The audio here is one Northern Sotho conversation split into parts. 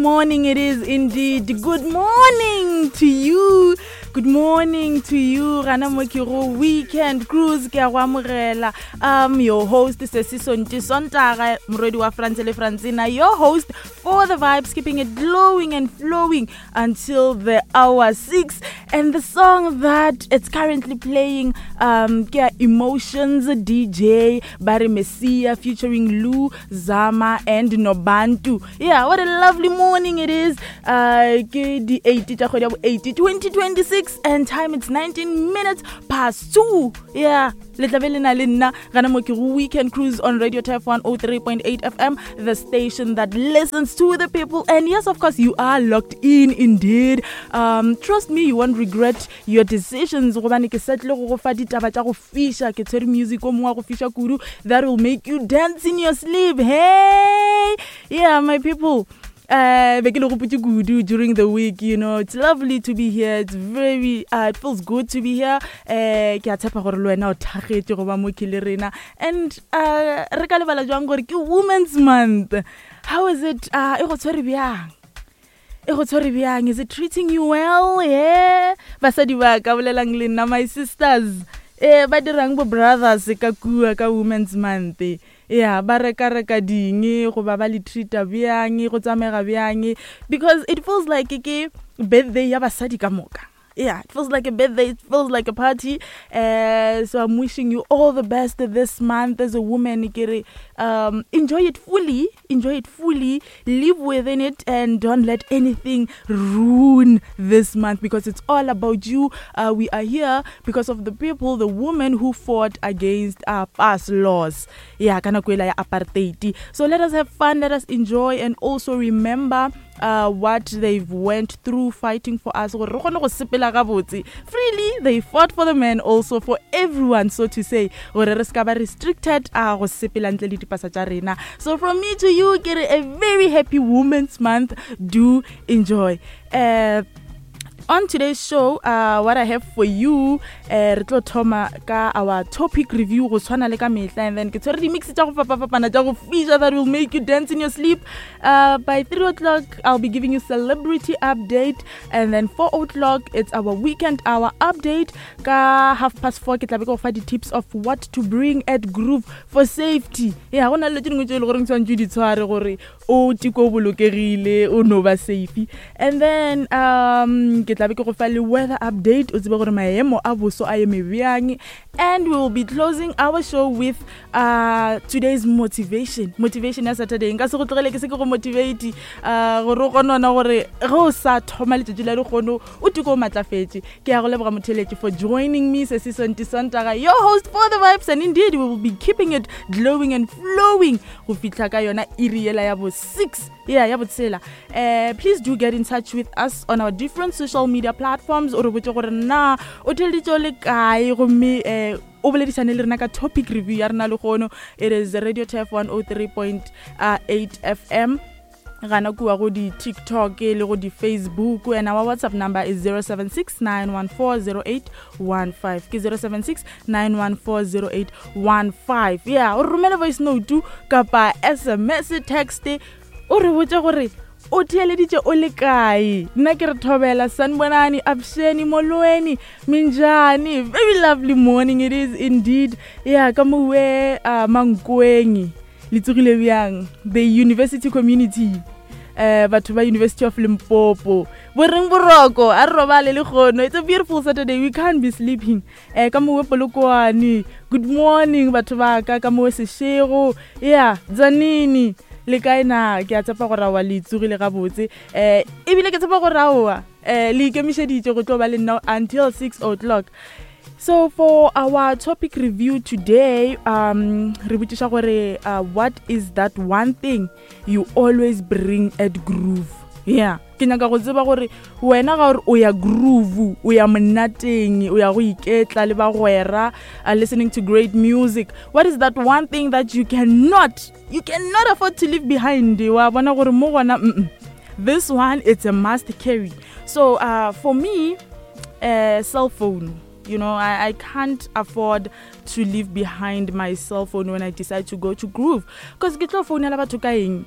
Morning it is indeed. Good morning to you. Good morning to you. Gana mo ke go weekend cruise ke a go amogela. Um your host Sesi Sonti Sontaga morwedi wa France le Francina, your host for the vibes keeping it glowing and flowing until the hour 6 and the song that it's currently playing um ke Emotions DJ Barry Messia featuring Lou Zama and Nobantu. Yeah, what a lovely morning it is. Uh ke di 8 tša kgwedi ya bo 8 2026 and time it's 19 minutes past 2. Yeah, le tla be le na le nna gana mo ke go weekend cruise on Radio Tef 103.8 FM, the station that listens to the people. And yes, of course, you are locked in indeed. Um trust me, you won't regret your decisions gobane ke setle go go fa ditaba tša go fiša ke tshwere music o mongwe wa go fiša kudu that will make you dance in your sleep hey yeah my people uh be ke le gopotse kudu during the week you know it's lovely to be here it's very uh, it feels good to be here eh ke a tshepa gore le wena o thagetše go ba mo ke le rena and uh re ka lebala jwang gore ke women's month how is it uh e go tshwere bjang e go tshwere bjang is it treating you well yeah basadi ba ka bolelang le nna my sisters eh ba dirang bo brothers ka kua ka women's month ya ba reka reka ding goba ba le treata bjang go tsamega bjang because it feels like ke birthday ya basadi ka moka yeah it feels like a birthday it feels like a party uh, so i'm wishing you all the best this month as a woman kere um, enjoy it fully enjoy it fully live within it and don't let anything ruin this month because it's all about you uh, we are here because of the people the women who fought against our past laws yeah ka nako ya apartheid so let us have fun let us enjoy and also remember uh, what they've went through fighting for us gore re kgone go sepela gabotse freely they fought for the men also for everyone so to say gore re se ba restricted uh, go sepela ntle le dipasa tša rena so from me to you ke re a very happy women's month do enjoy uh, on today's show uh, what i have for you uh, re tlo thoma ka our topic review go tshwana le ka mehla and then ke tshwere di-mix tša go fapafapana tša go fiša that will make you dance in your sleep uh, by 3 o'clock i'll be giving you celebrity update and then 4 o'clock it's our weekend hour update ka half past 4 ke tla be ke go fa di-tips of what to bring at groove for safety ya go na le tse dingwe tse e le goreng tshwanetse di tshware gore o tiko o bolokegile o no ba safe and then um ke tlabe ke go fa le weather update o tsebe gore maemo a boso a eme bjang and we will be closing our show with uh, today's motivation motivation ya saturday nka se go tlogele ke se ke go motivate uh, gore o kgonona gore ge o sa thoma letšatši la lekgono o tiko o matlafetše ke ya go leboga motheletši for joining me sesi sonti sontaga your host for the vibes and indeed we will be keeping it glowing and flowing go fihla ka yona iri yela ya bo 6 yeah ya botshela uh, please do get in touch with us on our different social media platforms o re botse gore na o theleditše o le kae gomme um o boledišane le rena ka topic review ya rena legono it is radio tf 103.8 fm gana kua go di-tiktok le go di-facebook and our whatsapp number is 076 914 ke 076 914 yeah o romele voice note kapa sms text o re botse gore o theeleditše o le kae nna ke re thobela sanbonani absheni molweni minjani very lovely morning it is indeed yeah ka mowe uh, mankweng le tsogile bjang the university community eh batho ba University of Limpopo bo reng boroko a re robale le kgono it's a beautiful Saturday we can't be sleeping eh ka mowe polokwane good morning batho ba ka ka mowe seshego yeah dzanini le kae na ke a tshepa gore aowa le tsogile gabotse eh ebile ke tshepa gore aowa eh le ikemišeditše go tlo ba le nna until 6 o'clock So for our topic review today, um, re botšiša gore uh, what is that one thing you always bring at groove? Yeah, ke nyaka go tseba gore wena ga gore o ya groove, o ya monateng, o ya go iketla le bagwera, uh, listening to great music. What is that one thing that you cannot, you cannot afford to leave behind? Wa bona gore mo gona, mm -mm. This one it's a must carry. So uh, for me, uh, cell phone. You know, I, I can't afford to leave behind my cell phone when I decide to go to groove. Because ke tlo founela batho ka eng?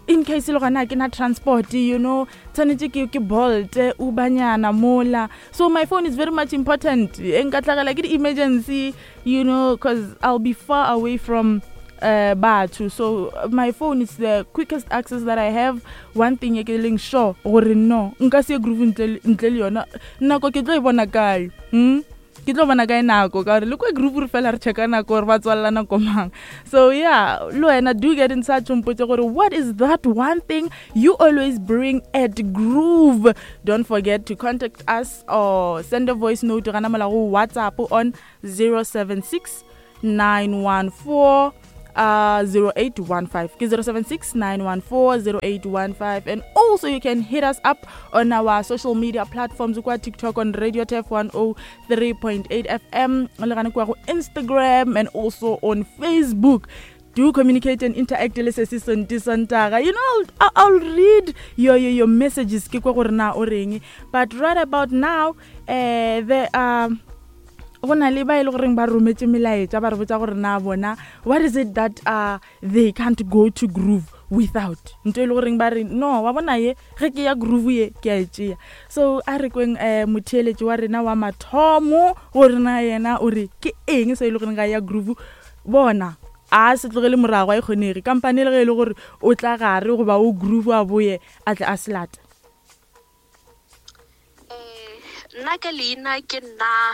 In case le gona ke na transport, you know, tshwanetse ke ke Bolt, Ubernyana mola. So my phone is very much important. E nka tlhagela ke di-emergency, you know, cause I'll be far away from batho. So my phone is the quickest access that I have. One thing e ke leng sure gore no, nka se ye groove ntle ntle le yona. Nako ke tlo e bona kae? Ke tlo bona kae nako? Ka gore le kwa groove re fela re checka nako gore ba tswalela nako mang. So yeah, le wena do get in touch, o mpotse gore what is that one thing you always bring at groove. Don't forget to contact us or send a voice note gana mola go WhatsApp on 076 914 0815. Ke 076 914 0815. And also you can hit us up on our social media platforms kwa TikTok on Radio Turf 103.8 FM, le gane kwa go Instagram and also on Facebook. Do communicate and interact le Sesi Sonti Sontaga. You know, I'll read your messages ke kwa gore na o reng. But right about now, the go na le ba e le goreng ba rometse melaetša ba re botsa gore na bona what is it that they can't go to groove without. Nto e le goreng ba re no, wa bona ye ge ke ya groove ye ke a e tšea. So a re kweng motheeletši wa rena wa mathomo gore na yena o re ke eng se e le goreng ga ya groove. Bona a se tlogele morago, a e kgonege kampane le ge e le gore o tla gare goba o groove a boye a tle a se late. Nna ka leina ke nna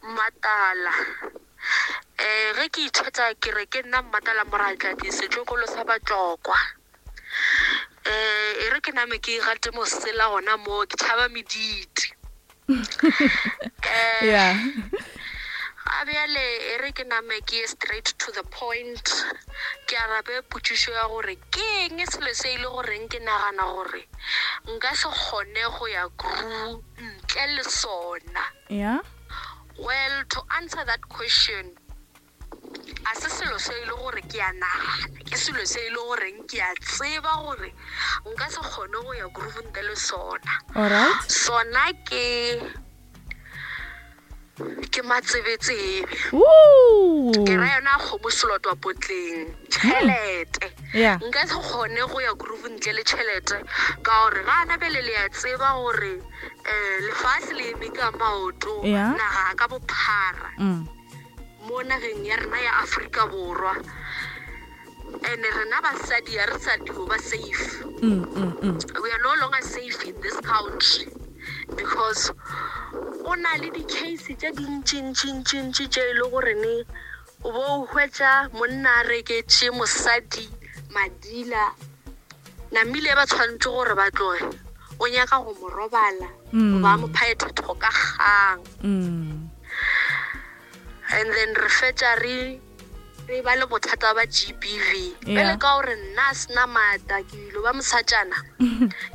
Mmatala. Ge ke ithetsa ke re ke nna Mmatala Moratladi, setlogolo sa Batlokwa. E re ke name ke gate mosela gona mo, ke tšhaba mediti. Ga bjale e re ke name ke ye straight to the point, ke arabe potšišo ya gore ke eng selo se e le goreng ke nagana gore nka se kgone go ya groove ntle le sona. Well, to answer that question, a se selo se e le gore ke a nagana, ke selo se e le goreng ke a tseba gore nka se kgone go ya groove ntle le sona. Sona ke ke matsebetsebe. Ooh. Ke ra yona kgomo selotwa potleng, tšhelete. Yeah. Nka se kgone go ya groove ntle le tšhelete, ka gore ga ana bjale le a tseba gore lefase le eme ka maoto, naga ka bophara. Mo nageng ya rena ya Afrika Borwa. And rena basadi ha re sa dio ba safe. We are no longer safe in this country because o na le di-case tše dintši-ntši-ntši-ntši tše e le gore ne o bo o hwetša monna a reketše mosadi madila, namile ba tshwanetse gore ba tloge, o nyaka go mo robala, ba mo phaethetho ka kgang. And then re fetša re ba le bothata ba GBV. Bjale ka gore nna a sena maatla, ke ilo ba mosatšana,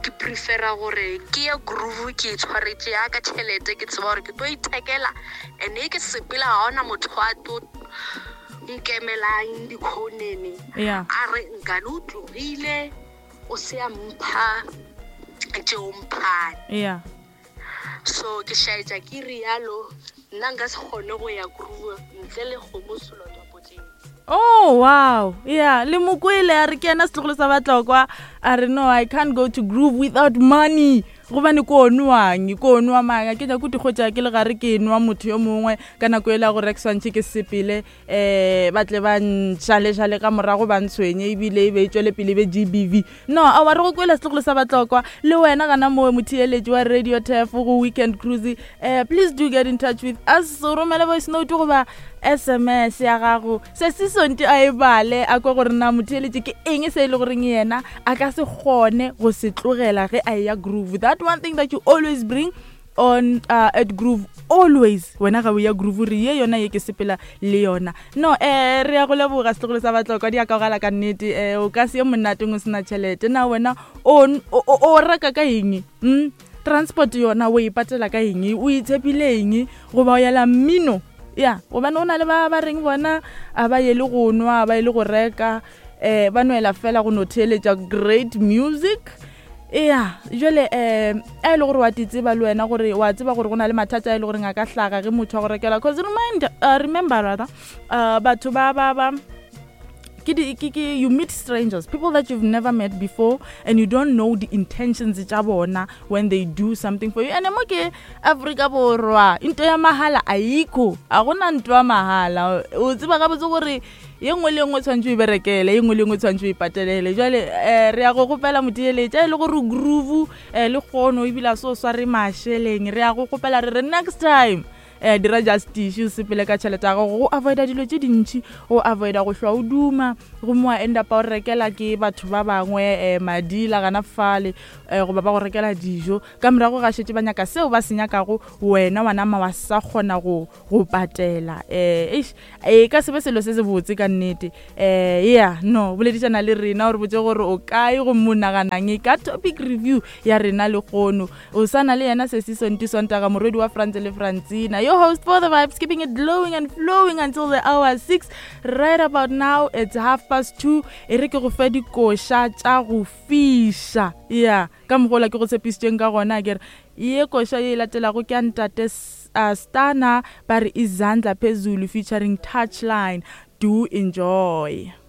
ke prefera gore ke ye groove ke itshwaretše ya ka tšhelete, ke tseba gore ke tlo ithekela, and e ke sepela ga ona motho a tlo nkemelang dikhonene. A re nkane o tlogile, o se a mpha tšeo mphane. So ke šaetša ke rialo, nna nka se kgone go ya groove ntle le kgomo selotwa potleng. Oh wow. Yeah, le mokwele a re ke yena setlogolo sa Batlokwa, a re no, I can't go to groove without money. Gobane ko nwang, ko nwa mang, ke nyako dikgotsa ke le gare ke nwa motho yo mongwe ka nako ela gore ke swantše ke sepele, ba tle ba ntšhalešale ka morago ba ntshwenye ebile e be e tšwele pele be GBV. No, a wa re go kwela setlogolo sa Batlokwa le wena gana mowe motheeletši wa Radio Turf go Weekend Cruise. Please do get in touch with us, o romele voice note goba SMS ya gago. Se se sonti a e bale a kwa gore na motheeletši ke eng se e le goreng yena a ka se kgone go se tlogela ge a ya groove. That one thing that you always bring on at groove always, wena ga o ya groove re ye yona ye ke sepela le yona. No, re ya go leboga setlogolo sa Batlokwa, di a kaogala ka nnete. O ka se ye monateng o sena tšhelete. Na wena o reka ka eng? Transport yona o e patela ka eng? O itshepile eng? Goba o yela mmino? Ya, gobane o na le ba ba reng bona a ba ye le go nwa, ba ye le go reka, ba nwela fela go no theeletša great music. Ya, jwale a e le gore wa di tseba le wena gore wa tseba gore go na le mathata a e le goreng a ka hlaga ge motho a go rekela. Cause remind, remember rather, batho ba ba ba Ke di ke ke you meet strangers, people that you've never met before and you don't know the intentions tša bona when they do something for you. And mo ke Afrika Borwa, into ya mahala ayikho, a gona ntho ya mahala. O tseba gabotse gore ye nngwe le nngwe tshwanetse o e berekele, ye nngwe le nngwe tshwanetse o e patelele. Jwale um re ya go gopela motheeletša e le gore groove um le kgono ebile a se o sware mašeleng, re ya go gopela re re next time um dira justice, o sepele ka tšhelete ya gago go avoida dilo tše dintšhi, go avoida go hlwa o duma gomme wa end up o rekela ke batho ba bangwe um madila gana fale um goba ba go rekela dijo ka morago ga šetše ba nyaka seo ba se nyakago, wena wa nama wa sa kgona go go patela. Um eish, e ka se be selo se se botse ka nnete. Um yeah, no boledišana le rena o re botse gore o kae gomme o naganang ka topic review ya rena lehono. O sa na le yena Sesi Sonti Sontaga, morwedi wa France le Francina, your host for the vibes, keeping it glowing and flowing until the hour 6. Right about now it's 2:30. E re ke go fe dikoša tša go fiša. Yeah, ka mogola ke go tshepišitšeng ka gona, ke re ye koša ye e latelago ke ya ntate Stana, ba re Izandla Phezulu featuring Touchline. Do enjoy.